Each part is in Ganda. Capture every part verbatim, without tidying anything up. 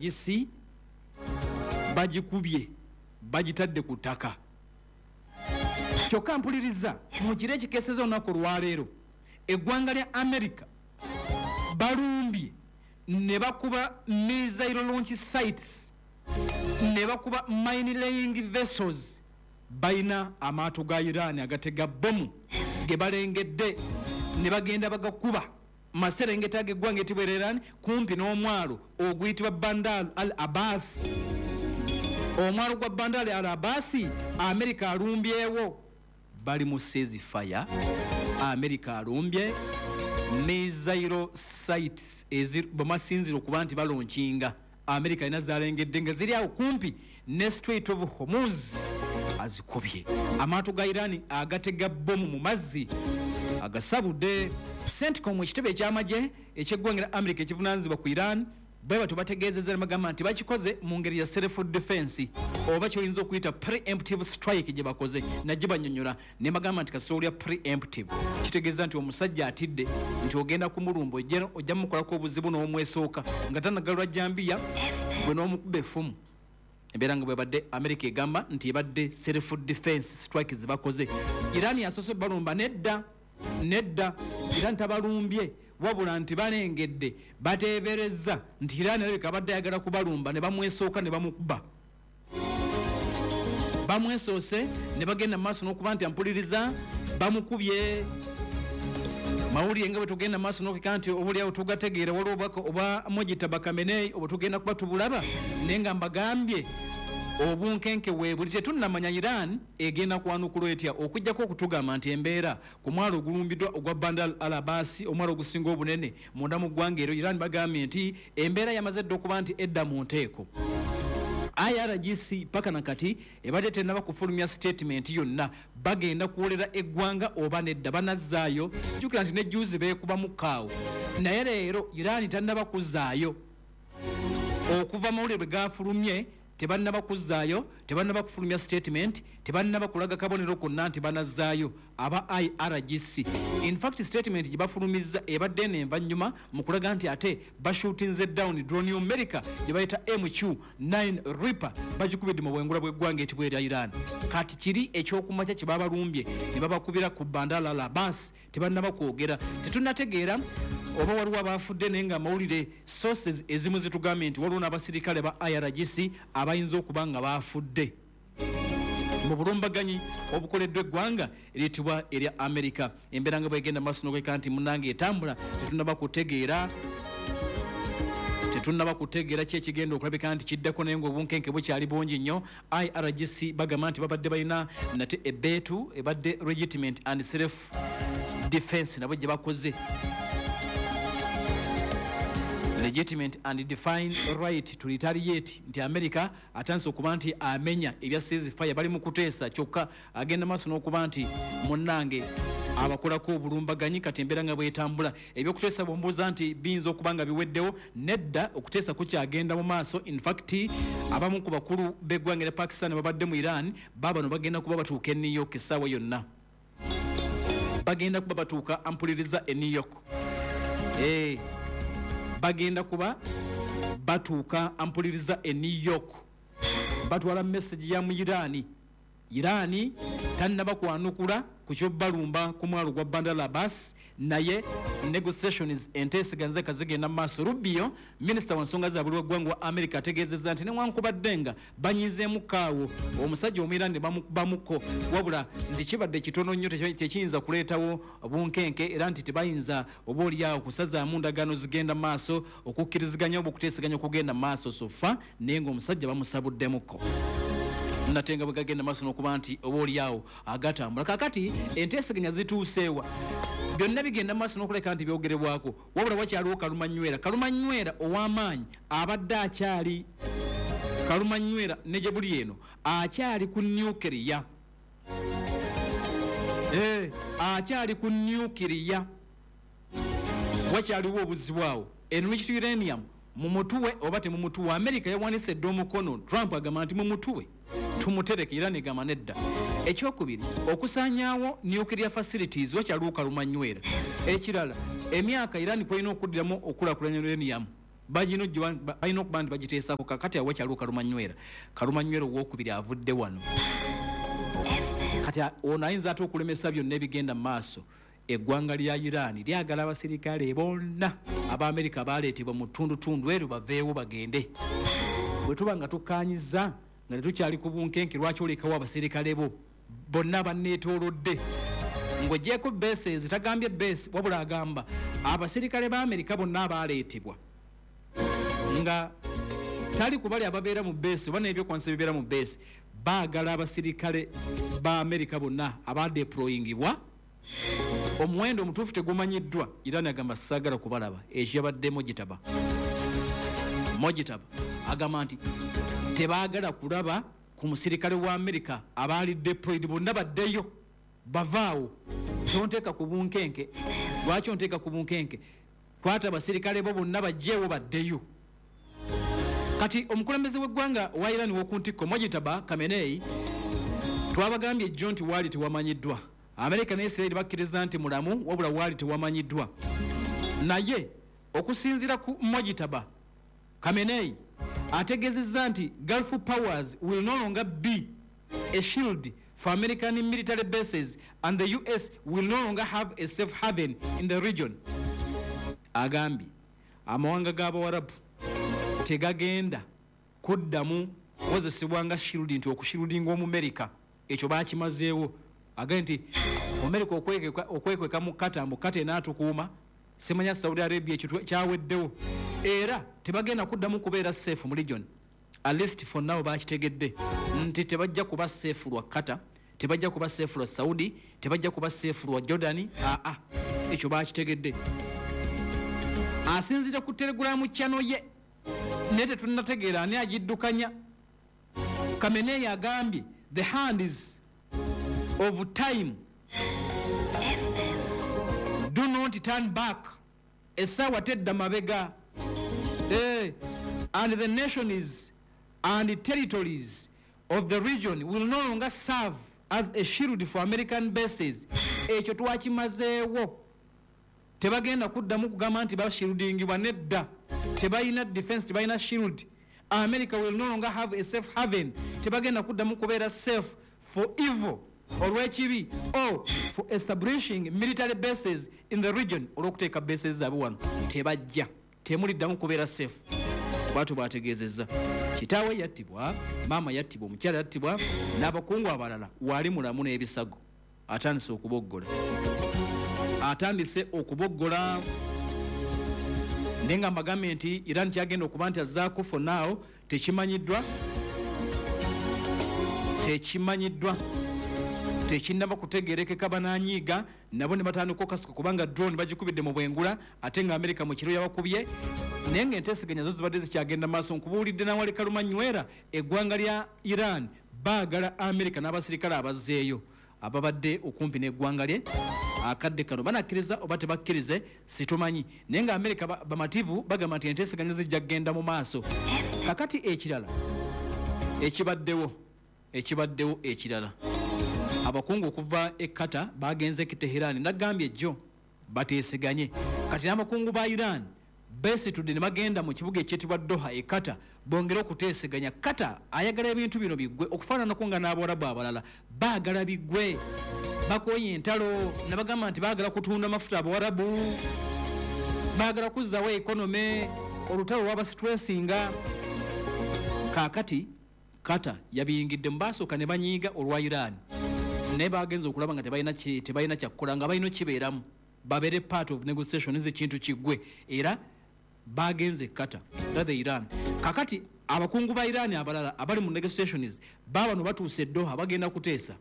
I R G C bagikubye, bagitadde ku ttaka. Kyokka mpuliriza, mu kiro ekikeeseza olunaku olwaleero, eggwanga lya America balumbye ne bakuba missile launch sites, ne bakuba mine laying vessels. Balina amaato ga Iran agatega bomu ge balengedde ne bagenda bagakuba maserengeta ag'eggwanga etibwa erya Iran, kumpi n'omwalo oguyitibwa Bandar Al Abbas. Omwalo gwa Bandar Al Abbasi, America alumbyewo. Bali mu ceasefire, America alumbye missile sites bamasinzira okuba nti balaunchinga. America alina zalengedde nga ziri awo kumpi ne Strait of Hormuz, azikubye. Amaato ga Iran agatega bomu mu mazzi agasabudde. CENTCOM, ekitebe ekyamagye ekyeggwanga la America ekivunanyizibwa ku Iran, bwe batyo bategeezezza nebagamba nti bakikoze mu ngeri ya self defense, oba kyoyinza okuyita preemptive strike gye bakoze. Najje banyonyola ne bagamba nti kasita olya preemptive, kitegeeza nti omusajja atidde nti ogenda kumulumba, ojja mumukolako obuzibu n'omwesooka nga tanagalwa jambiya, gwe n'omukuba effumu. Embeera nga bwebadde, America egamba nti ebadde self defense strike zebakoze. Iran yasoose balumba? Nedda, nedda, Iran tabalumbye, wabula nti balengedde, bateebereza nti Iran alabika abadde ayagala kubalumba, ne bamwesooka ne bamukuba. Bamwesoose ne bagenda mu maaso n'okuba nti ampuliriza bamukubye. Mawulire nga bwe tugenda maaso n'okeka nti obuliawo tugategeera, waliwo obubaka obwa Mojtaba Khamenei obwe tugenda kuba tubulaba, naye nga mbagambye obunkenke weebuli. Tetunnamanya Iran egenda kwanukula etya, okugjako okutugamba nti embeera ku mwalo ogulumbiddwa ogwa Bandar Al Abbas, omwalo ogusinga obunene munda mu ggwanga eryo Iran, bagambye nti embeera yamaze dda okuba nti edda mu nteeko. I R G C paka nakati ebadde tennaba kufulumya statement yonna, bagenda kuwolera eggwanga oba nedda, banazzaayo. Jjukira nti ne juzi beekubamu kaawo, naye leero Iran tannaba kuzzaayo. Okuva mawulire bwe gafulumye tebannaba kuzzaayo, tebannaba kufulumya statement, tebannaba kulaga kabonero konna nti banazzaayo aba I R G C. In fact, statement gye bafulumizza ebadde eno envannyuma mu kulaga nti ate bashootinze down drone America gye bayita M Q nine Reaper, bagikubidde mu bwengula bw'eggwanga etibwa erya Iran. Kati kiri ekyokumakya kye babalumbye ne babakubira ku Bandar Al Abbas, tebannaba kwogera, tetunnategeera oba waliwo abafudde, naye nga amawulire sources ezimu zitugambye nti waliwo n'abasirikale ba I R G C abayinza okuba nga bafudde mu bulumbaganyi obukoleddwa eggwanga eriyitibwa erya America. Embeera nga bwegenda maaso nokweka nti munange etambula, tetunaba kutegeera tetunnaba kutegeera ki ekigenda okulabika nti kiddako, naye nga obunkenke bukyali bungi nnyo. I R G C bagamba nti babadde balina nate ebeetu ebadde legitimate and self defense, nabo gye bakoze legitimate and defined right to retaliate, nti America atandise okuba nti amenya ebya ceasefire, bali mu kuteesa, kyokka agenda maaso n'okuba nti munnange abakolako obulumbaganyi. Kati embeera nga bwetambula, ebyokuteesa bwombuuza nti biyinza okuba nga biweddewo, nedda, okuteesa kukyagenda mu maaso. In fact, abamu ku bakulu b'eggwanga erya Pakistan babadde mu Iran, baabano bagenda kuba batuuka e New York essaawa yonna. Bagenda kuba batuuka, ampuliriza, e New York. Eh, bagenda kuba batuuka, ampuliriza, e New York. Batwala message ya mu Irani. Irani tannaba kwanukula ku kyobalumba ku mwalo gwa Bandar Abbas, naye negotiations, enteeseganya zigenda mu maaso. Rubio, minisita wa nsonga za buli waggwanga wa America, ategeezezza nti newankubadde nga banyizeemu kaawo omusajja Omwirani ne bamukubamuko, wabula nti kibadde kitono nnyo, tekiyinza kuleetawo bunkenke, era nti tebayinza oba oliawo kusazaamu ndagaano zigenda mu maaso, okukkiriziganya oba okuteeseganya okugenda mu maaso so far, naye ng'omusajja bamusabuddemuko. Nate nga bwe gagenda maaso n'okuba nti oba oliawo agatambula, kakati enteeseganya zituuseewa? Byonna bigenda maaso n'okuleka nti byogerebwako, wabula wakyaliwo kalumanywera, kalumanywera ow'amaanyi abadde akyali kalumanywera ne gye buli eno akyali ku nuclear, eh, akyali ku nuclear. Wakyaliwo obuzibu awo. Enriched uranium mumutuwe oba temumutuwe? America yawanise dde omukono. Trump agamba nti mumutuwe tumutereke, era negamba nedda. Ekyokubiri, okusaanyaawo nuclear facilities, wakyaliwo kalumanywera. Ekirala, emyaka Iran kwolina okuddiramu okulakulanya uranium Balina okuba nti bagiteesaako. Kakati awakyaliwo Kalumanywera, Kalumanywera owokubiri avudde wano. Kati ono ayinza ate okulemesa byonna ebigenda mu maaso. Eggwanga lya Iran lyagala abasirikale bonna Abamerika baleetebwa mu ttundutundu eryo baveewo bagende. Bwe tuba nga tukkaanyizza nga tetukyali ku bunkenke, lwaki olekawo abasirikale bo bonna banneetoolodde? Ng'ogyeko bases, tagambye base, wabula agamba abasirikale ba Amerika bonna abaleetebwa, nga tali ku bali ababeera mu base oba n'ebyokwanyisa bibeera mu base. Baagala abasirikale ba Amerika bonna abadeployingibwa, omuwendo omutuufu tegumanyiddwa. Iran agamba saagala kubalaba. Ekyo yabadde Mojtaba. Mojtaba agamba nti tebaagala kulaba ku musirikale wa Amerika abaali deployed, bonna baddeyo, bavaawo. Tonteeka ku bunkenke. Lwaki onteeka ku bunkenke? Kwata abasirikale bo bonna bajjeewo, baddeyo. Kati omukulembeze w'eggwanga wa Iran w'oku ntikko, Mojtaba Khamenei, twabagambye ejjo nti waali tewamanyiddwa. Amerika ne Israeli bakkiriza nti mulamu, wabula waali tewamanyiddwa. Naye okusinziira ku Mojtaba Khamenei, ategeezezza nti Gulf powers will no longer be a shield for American military bases and the U S will no longer have a safe haven in the region. Agambye amawanga g'Abawarabu tegagenda kuddamu kukozesebwa nga shield, nti okushieldinga Omumerika ekyo bakimazeewo. Agambye nti Omumerika okwekweka mu Qatar, mu Qatar enaatukuuma, simanya Saudi Arabia, ekyo kyaweddewo, era tebagenda kuddamu kubeera safe mu region. At least for now bakitegedde nti tebajja kuba safe lwa Qatar, tebajja kuba safe lwa Saudi, tebajja kuba safe lwa Jordan. Aa, ekyo bakitegedde. Asinzira ku Telegram channel ye, naye tetunnategeera ani agiddukanya. Khamenei agambye the hands of time do not turn back, essaawa tedda mabega. Eh, and the nations and territories of the region will no longer serve as a shield for American bases. Ekyo twakimazeewo. Tebagenda kuddamu kugamba nti bashieldingibwa, nedda. Tebalina defense, tebalina shield. America will no longer have a safe haven, tebagenda kuddamu kubeera safe for evil, olw'ekibi, or for establishing military bases in the region, olw'okuteeka bases zaabwe wano. Tebajja, temuliddamu kubeera safe, bwatyo bwategeezezza. Kitaawe yattibwa, maama yattibwa, omukyala yattibwa n'abakungu abalala. Waali mulamu n'ebisago, atandise okuboggola, atandise okuboggola. Naye nga mbagambye nti Iran kyagenda okuba nti azzaako, for now tekimanyiddwa, tekimanyiddwa, tekinnaba kutegerekeka. Bananyiiga nabo ne batandika okasuka kubanga drone bagikubidde mu bwengula, ate nga Amerika mu kiro yabakubye. Naye nga enteeseganya zo zibadde zikyagenda maaso. Nkubuulidde nawali Kalumanywera, eggwanga lya Iran baagala Amerika n'abasirikale abazzeeyo ababadde okumpi n'eggwanga lye. Akadde kano banakkiriza oba tebakkirize situmanyi, naye nga Amerika bamativu, bagamba nti enteeseganya zijja kugenda mu maaso. Kakati ekirala ekibaddewo ekibaddewo ekirala, abakungu okuva e Qatar bagenze e Teherani. Nagambye ejjo bateeseganye. Kati n'abakungu ba Iran besitudde ne bagenda mu kibuga ekyetibwa Doha e Qatar bongere okuteeseganya. Qatar ayagala ebintu bino biggwe, okufaananako nga n'Abawarabu abalala baagala biggwe, bakooye entalo. Ne bagamba nti baagala kutunda mafuta, Abawarabu baagala kuzzawo economy, olutalo lwabasitwesinga. Kaakati Qatar yabiyingidde mu. Basooka ne banyiiga olwa Iran, naye bagenze okulaba nga tebalina tebalina kyakukola, nga balina okibeeramu, babeere part of negotiations, ekintu kiggwe, era bagenze Qatar rather Iran. Kakati abakungu ba Iran abalala abali mu negotiations babano batuuse Doha, bagenda kuteesa.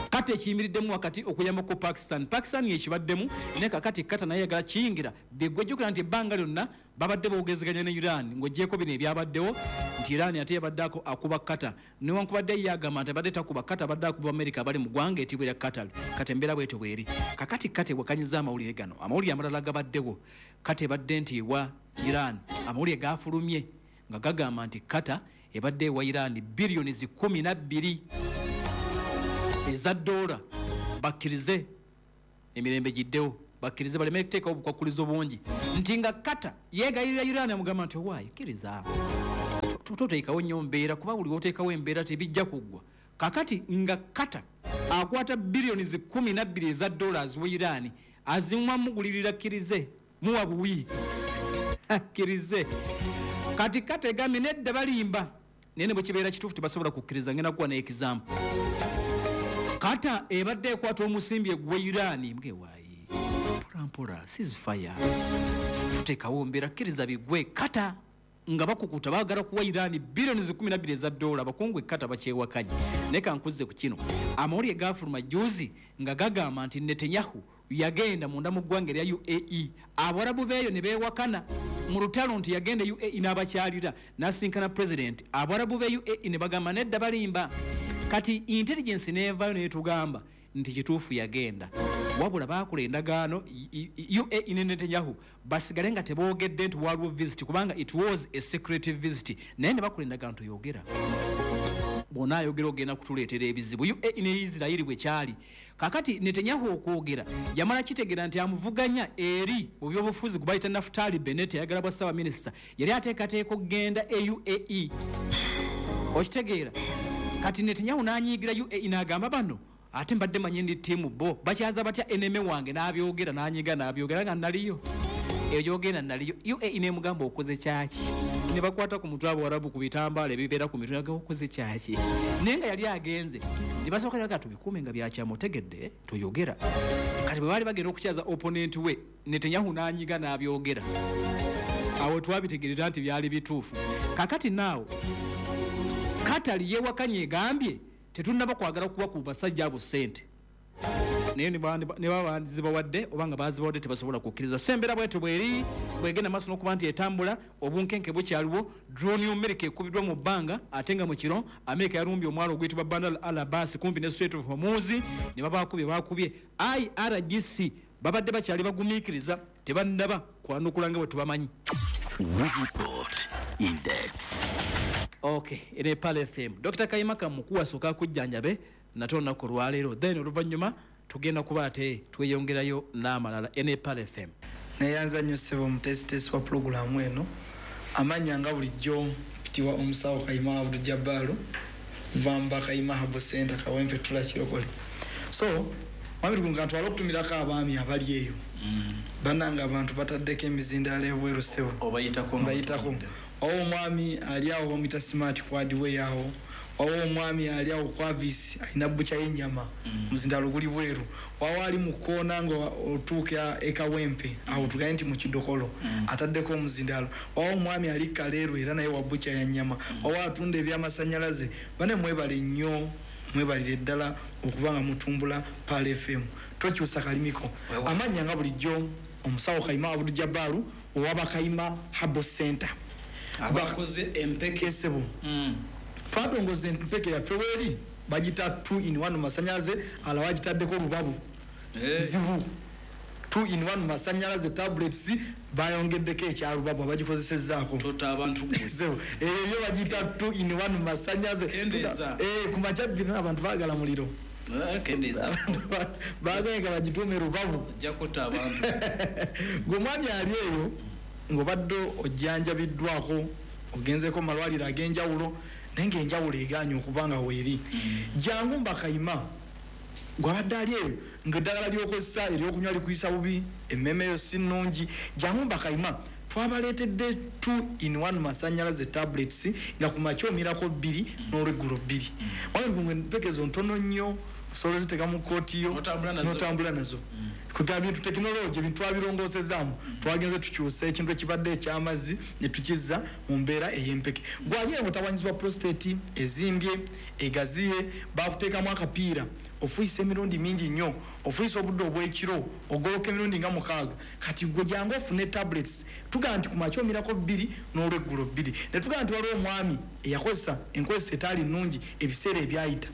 Kati ekiyimiriddemu wakati okuyambako Pakistan, Pakistan yekibaddemu, naye kakati Qatar naye yagala kiyingira biggwe. Jjukira nti ebbanga lyonna babadde boogezeganya ne Iran, ng'ogyeko bino ebyabaddewo nti Iran ate yabadde akuba Qatar, newankubadde ye agamba nti abadde takuba Qatar, abadde akuba America abali mu ggwanga etibwa erya Qatar. Kati embeera bwetyo bweri. Kakati Qatar ewakanyiza amawulire gano. Amawulire amalala gabaddewo, Qatar ebadde nti ewa Iran, amawulire gafulumye nga gagamba nti Qatar ebadde ewa Iran biliyoni zikumi na bbiri eza dola bakkirize emirembe giddewo. Bakkirize baleme kuteekawo obukwakkulizo bungi. Nti nga Qatar yeegayirira Iran amugamba nti owaayi kkiriza, toteekawo nnyo mbeera, kuba buli woteekawo embeera tebijja kuggwa. Kakati nga Qatar akwata biliyoni kumi na bbiri eza dollars we Iran azimuwa mugulirira kkirize muwa buwi kkirize. Kati Qatar egambye nedda balimba, naye ne bwe kibeera kituufu tebasobola kukkiriza. Ngenda kuwa ne example. Qatar ebadde ekwata omusimbi egwe Iran mbwewaayi mpola mpola ceasefire tuteekawo mbeera kkiriza bigwe. Qatar nga bakukuta baagala kuwa Iran biliyoni kumi na bbiri eza dola. Abakungu e Qatar bakyewakanye. Naye kankuze ku kino, amawulire gaafuluma juzi nga gagamba nti Netanyahu yagenda munda mu ggwanga erya U A E, Abawarabu beeyo ne beewakana mu lutalo nti yagenda U A E n'abakyalira n'asinkana president. Abawarabu be U A E ne bagamba nedda balimba. Kati intelligence n'evaayo n'etugamba nti kituufu yagenda, wabula baakola endagaano U A E ne Netanyahu basigale nga teboogedde nti waliwo visit, kubanga it was a secret visit, naye ne bakola endagaano toyogera, bw'onaayogera ogenda kutuleetera ebizibu. U A E ne Israeli bwe kyali. Kakati Netanyahu okwogera yamala kitegeera nti amuvuganya eri mu byobufuzi gwe bayita Naftali Bennett ayagala bwa ssaabaminisita, yali ateekateeka okugenda e U A E, okitegeera. Kati Netanyahu n'anyiigira U A E n'agamba bano ate mbadde manyi ndi ttiimu bo bakyaza batya eneme wange, n'abyogera n'anyiga n'abyogera nga naliyo eyo gy'ogenda naliyo. U A E n'emugamba okoze kyaki, ne bakwata ku mutwe Abawarabu ku bitambaala ebibeera ku mitwe nga okoze kyaki, naye nga yali agenze ne basooka ne bagamba tubikuume nga byakyama otegedde toyogera. Kati bwe baali bagenda okukyaza opponent we Netanyahu n'anyiga n'abyogera, awo twabitegeerera nti byali bituufu. Kakati naawo Qatar yeewakanye egambye tetunnaba kwagala kuwa ku basajja abo ssente, naye ne baba bazibawadde oba nga bazibawadde tebasobola kukkiriza. So embeera bwetyo bweri bwegenda maaso n'okuba nti etambula, obunkenke bukyaliwo. Drone y'Amerika ekubiddwa mu bbanga, ate nga mu kiro Amerika yalumbye omwalo oguyitibwa Bandar Al Abbas kumpi ne Strait of Hormuz ne babaakubye baakubye. I R G C babadde bakyali bagumiikiriza, tebannaba kwanukula nga bwe tubamanyi. Okay, ere Pearl F M. Doctor Kayima Kamukuwa asooka kujjanjabe nate olunaku olwaleero, then oluvannyuma tugenda kuba ate tweyongerayo n'amalala. Ene Pearl F M. Neyanza nnyo ssebo omuteesiteesi wa pulogulaamu eno. Amannya nga bulijjo mpitibwa omusawo Kayima Abdul Jabbalu, Vamba Kayima Herbal Center, Kawempe Ttula Kirokole. So mwami Lukunga ntwala okutumirako abaami abali eyo. Bannange abantu bataddeko emizindaalo ebweru ssebo. Obayitako? Mbayitako. Wawo omwami ali awo bamuyita Smart Kwadiwe awo. Wawo omwami ali awo Kwavis alina bbuca y'ennyama, omuzindaalo guli bweru. Wawo ali mu kkoona nga otuuka e Kawempe awo tugambe nti mu Kidokolo ataddeko omuzindaalo. Wawo omwami ali Kaleerwe era naye wa bbuca ya nnyama. Wawo atunda ebyamasannyalaze. Bane mwebale nnyo, mwebalire ddala okuba nga mutumbula Pearl F M. Tokyusa kalimiko. Amannya nga bulijjo omusawo Kayima Abdul Jabbalu owa Kayima Herbal Center. Abakoze empeke ssebo. Twatongoza empeke yaffe weeri bagita two in one masannyalaze, ala bagitaddeko lubabu zibu. two in one masannyalaze tablets bayongeddeko ekya lubabu abagikozesezzaako. Tota abantu gwe. Ssebo, eyo bagita two in one masannyalaze. Eh, ku makya bino abantu baagala muliro. Kendeeza. Baagala nga bagituume lubabu. Ojja kutta abantu. Gwe omwami ali eyo ng'obadde ojjanjabiddwako ogenzeeko mu malwaliro ag'enjawulo, naye ng'enjawulo egaanye okuba nga weeri. Jangu Mbakayima gw'abadde ali eyo ng'eddagala ly'okozesa ery'okunywa likuyisa bubi, emmeme yo si nnungi. Jangu Mbakayima twabaleetedde two in one masannyalaze tablets nga ku makya omirako bbiri n'olweggulo bbiri. Waliwo empeke zo ntono nnyo, osobola oziteeka mu kkooti yo n'otambula nazo. Kugamba bintu tekinologi ebintu twabirongoosezaamu, twagenze tukyusa ekintu ekibadde eky'amazzi ne tukizza mu mbeera ey'empeke. Gwali eyo otawanyizibwa prostate ezimbye, egaziye, bakuteekamu akapiira, ofuuyisa emirundi mingi nnyo, ofuuyisa obudde obw'ekiro, ogoloka emirundi nga mukaaga. Kati gwe jangu ofune tablets, tugamba nti ku makya omirako bbiri n'olweggulo bbiri. Ne tugamba nti waliwo omwami eyakozesa enkozesa etaali nnungi ebiseera ebyayita.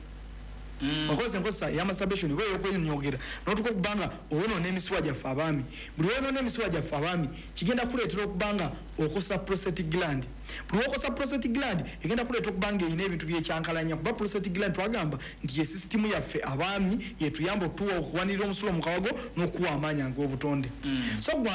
Okozesa enkozesa eya masturbation oba eyokwenyogera notuka okuba nga oyonoona emisuwa gyaffe abaami. Buli woyonoona emisuwa gyaffe abaami, kigenda kuleetera okuba nga okosa prostate gland. Buli wokosa prostate gland, egenda kuleeta okuba nga erina ebintu byekyankalanya, kuba prostate gland twagamba nti ye sisitimu yaffe abaami yetuyamba okutuwa okuwanirira omusulo mu kawago n'okuwa amaanyi ag'obutonde. So gwe